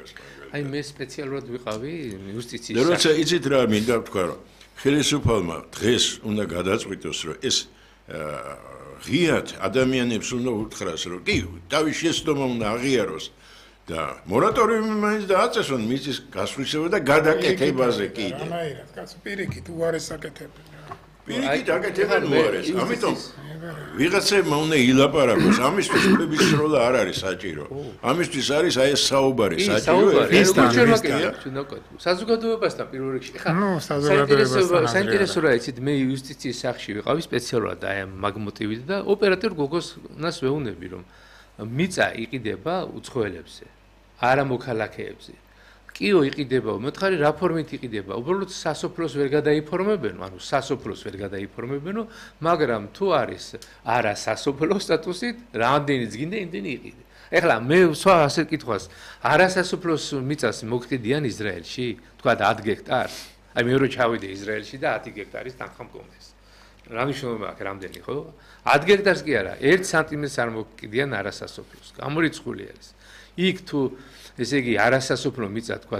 მაგას მაგალითად. აი მე სპეციალურად ვიყავი იუსტიციის და როცა იცით რა მინდა ვთქვა რომ ხელისუფალმა დღეს უნდა გადაწყვიტოს რომ ეს ღიად ადამიანებს უნდა უთხრას რომ კი თავის შეცდომა უნდა აღიაროს და მორატორიუმი მაინც დააწესონ მისთვის გასვლისებრ და გადაკეთებაზე კიდე. რანაირად კაცო პირიქით უარეს აკეთებენ. პირიქით აკეთებენ უარეს. ამიტომ ვიღაცებმა უნდა ილაპარაკოს. ამისთვის ფლების სროლა არ არის საჭირო. ამისთვის არის აი ეს საუბარი საჭირო. საზოგადოებასთან პირველ რიგში. საზოგადოებასთან საინტერესო რა იცით მე იუსტიციის სახში ვიყავი სპეციალურად აი ამ მაგ მოტივით და ოპერატორ გოგოსნას ვეუბნები რომ მიწა იყიდება უცხოელებზე არა მოქალაქეებზე. კიო იყიდება, მოთხარი რა ფორმით იყიდება, უბრალოდ სასოფლოს ვერ გადაიფორმებენო, ანუ სასოფლოს ვერ გადაიფორმებენო, მაგრამ თუ არის არა სასოფლო სტატუსით, რამდენიც გინდა იმდენი იყიდე. ეხლა მე სხვა ასეთ კითხვას, არა სასოფლოს მიწას მოგყიდიან ისრაელში, თქვა 10 გექტარს. აი მე რო ჩავიდე ისრაელში და 10 გექტარის თანხა მქონდეს. რა მნიშვნელობა აქვს რამდენი, ხო? 10 გექტარს კი არა, 1 სანტიმეტრს არ მოგყიდიან არა სასოფლოს. გამორიცხული არის. იქ თუ ესე იგი არასასოფლო მიწა თქვა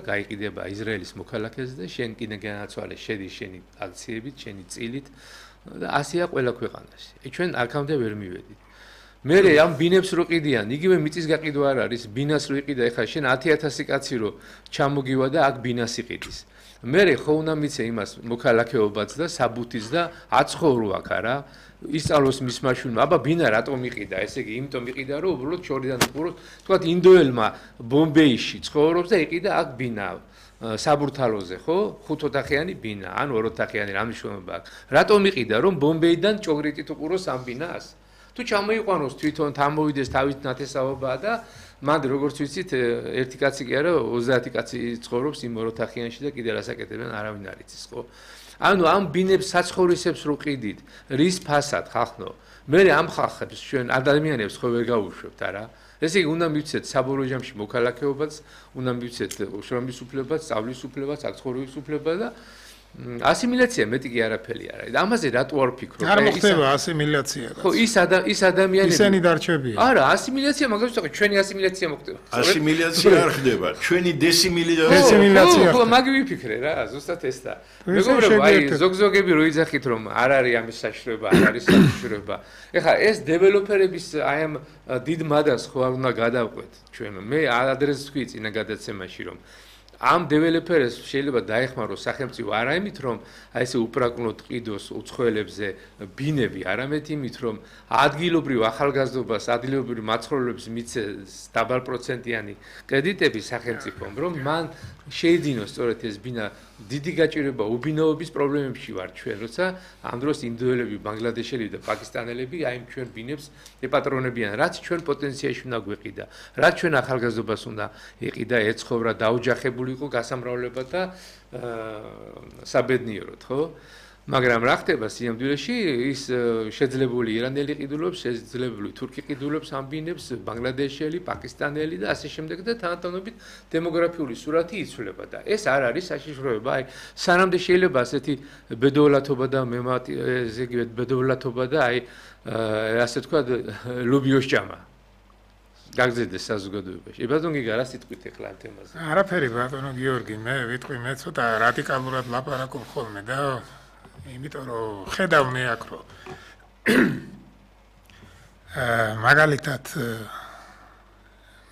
გაიყიდება ისრაელის მოქალაქეზე და შენ კიდე განაცვალე შედი შენი აქციებით, შენი წილით და ასეა ყველა ქვეყანაში. ჩვენ აქამდე ვერ მივედით. მე ამ ბინებს რო ყიდიან, იგივე მიწის გაყიდვა არ არის, ბინას რო იყიდა, ეხლა შენ 10000 კაცი რო ჩამოგივა და აქ ბინას იყიდის. მე ხო უნდა მიცე იმას მოქალაქეობაც და საბუთიც და აცხოვრო აქ არა ისწავლოს მის მაშულმა, აბა ბინა რატომ იყიდა, ესე იგი, იმიტომ იყიდა, რომ უბრალოდ შორიდან უყუროს, თქვათ ინდოელმა ბომბეიში ცხოვრობს და იყიდა აქ ბინა საბურთალოზე, ხო? 5 ოთახიანი ბინა, ან 2 ოთახიანი რა მნიშვნელობა აქვს. რატომ იყიდა, რომ ბომბეიდან ჭოგრიტით უყუროს ამ ბინას? თუ ჩამოიყვანოს თვითონ თამოვიდეს თავის ნათესაობა და მანდ როგორც ვიცით, ერთი კაცი კი არა, 30 კაცი ცხოვრობს იმ 2 ოთახიანში და კიდე რასაკეთებენ, არავინ არ იცის, ხო? ანუ ამ ბინებს საცხოვრისებს რო ყიდით, რის ფასად ხახნო? მე ამ ხალხებს ჩვენ ადამიანებს ხო ვერ გავუშვებთ არა? ესე იგი უნდა მივცეთ საბოლოო ჯამში მოქალაქეობაც, უნდა მივცეთ შრომის უფლებაც, სწავლის უფლებაც, აქ ცხოვრების უფლება და ასიმილაცია მეტი კი არაფერი არა. ამაზე რატო არ ვფიქრობ? არ მოხდება ასიმილაცია. ხო, ის ადამიანები ისინი დარჩებიან. არა, ასიმილაცია მაგას ვთქვი, ჩვენი ასიმილაცია მოხდება. ასიმილაცია არ ხდება, ჩვენი დესიმილაცია. ხო, მაგ ვიფიქრე რა, ზუსტად ეს და. მეგობრებო, აი ზოგზოგები რო იძახით რომ არ არის ამის საშიშროება, არ არის საშიშროება. ეხლა ეს დეველოპერების აი ამ დიდ მადას ხო არ უნდა გადავყვეთ ჩვენ. მე ადრესს ვთქვი წინა გადაცემაში რომ ამ დეველოპერებს შეიძლება დაეხმაროს სახელმწიფო არა იმით რომ აი ესე უპრაკნოდ ყიდოს უცხოელებზე ბინები, არამედ იმით რომ ადგილობრივ ახალგაზრდობას, ადგილობრივ მაცხოვრებლებს მიცეს დაბალ პროცენტიანი კრედიტები სახელმწიფომ, რომ მან შეედინოს სწორედ ეს ბინა. დიდი გაჭირვება უბინაობის პრობლემებში ვარ ჩვენ, როცა ამ დროს ინდოელები, ბანგლადეშელები და პაკისტანელები აი ჩვენ ბინებს ეპატრონებიან, რაც ჩვენ პოტენციაში უნდა გვეყიდა, რაც ჩვენ ახალგაზრდობას უნდა ეყიდა, ეცხოვრა, დაუჯახებული იყო გასამრავლებლად და საბედნიეროდ, ხო? მაგრამ რა ხდება სიამდილეში ის შეძლებული ირანელი ყიდულობს, შეძლებული თურქი ყიდულობს ამ ბინებს, ბანგლადეშელი, პაკისტანელი და ასე შემდეგ და თანატოლობით დემოგრაფიული სურათი იცვლება და ეს არ არის საშიშროება. აი სანამდე შეიძლება ასეთი ბედოვლათობა და ესე იგი ბედოვლათობა და აი ასე თქვა ლუბიოს ჭამა გაგზდეს საზოგადოებაში. ბატონო გიგა რა სიტყვით ეხლა ამ თემაზე? არაფერი ბატონო გიორგი, მე ვიტყვი მე ცოტა რადიკალურად ლაპარაკობ ხოლმე და იმიტომ რომ ხედავ მე აქ რომ მაგალითად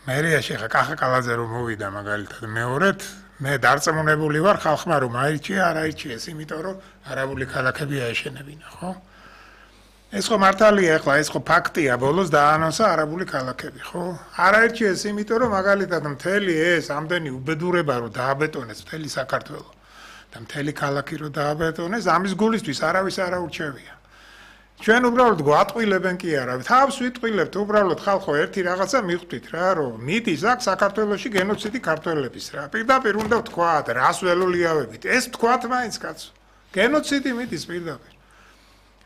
მერიაში ხა კახაკალაძე რომ მოვიდა მაგალითად მეორედ მე დარწმუნებული ვარ ხალხმა რომ აირჩია არ აირჩიეს იმიტომ რომ არაბული ქალაქები აეშენებინა ხო ეს ხო მართალია ახლა ეს ხო ფაქტია ბოლოს დაანონსა არაბული ქალაქები ხო არ აირჩიეს იმიტომ რომ მაგალითად მთელი ეს ამდენი უბედურება რომ დააბეტონეს მთელი საქართველო და მთელი ქალაქი რო დააბეტონეს ამის გულისთვის არავის არ აურჩევია ჩვენ უბრალოდ გვატყვილებენ კი არა თავს ვიტყვილებთ უბრალოდ ხალხო ერთი რაღაცა მიხვდით რა რომ მიდის აქ საქართველოში გენოციდი ქართველების რა პირდაპირ უნდა ვთქვათ რას ველოლიავებით ეს ვთქვათ მაინც კაცო გენოციდი მიდის პირდაპირ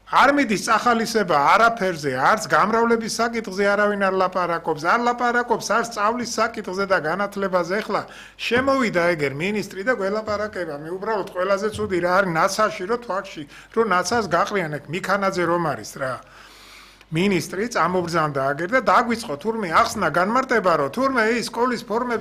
არ მიდის წახალისება არაფერზე არც გამრავლების საკითხზე არავინ არ ლაპარაკობს არ ლაპარაკობს არც სწავლის საკითხზე და განათლებაზე ეხლა შემოვიდა ეგერ მინისტრი და გველაპარაკება მე უბრალოდ ყველაზე ცუდი რა არის ნაცაში რო თვაქში რო ნაცას გაყრიან ეგ მიქანაძე რომ არის რა მინისტრი წამობრძანდა აგერ და დაგვიწყო თურმე ახსნა განმარტება რომ თურმე ის სკოლის ფორმები